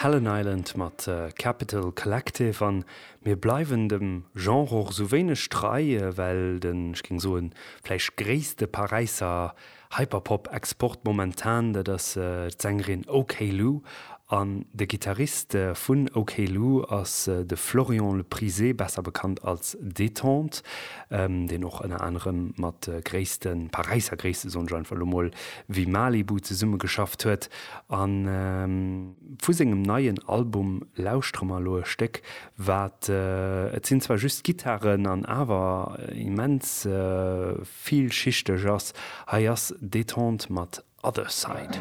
Helen Island mat Capital Collective an mir bleiwen dem Genre och esou wéineg trei, well den, ech géing soen, vläicht gréisste Paräisser Hyperpop-Export momentan, dat ass d'Sängerin OK Lou. An de Gittarist vun OK Lou ass de Florian Leprisé, besser bekannt als Détente, deen och ënner anerem mat gréisste Paräisser Gréisste, soen ech einfach elo mol, wéi Malibu zesummegeschafft huet. A vu sengem neien Album lauschtere mer elo e Stéck, wat, et sinn zwar just Gittaren an awer immens villschichteg ass. Hei ass Détente mat Other Side.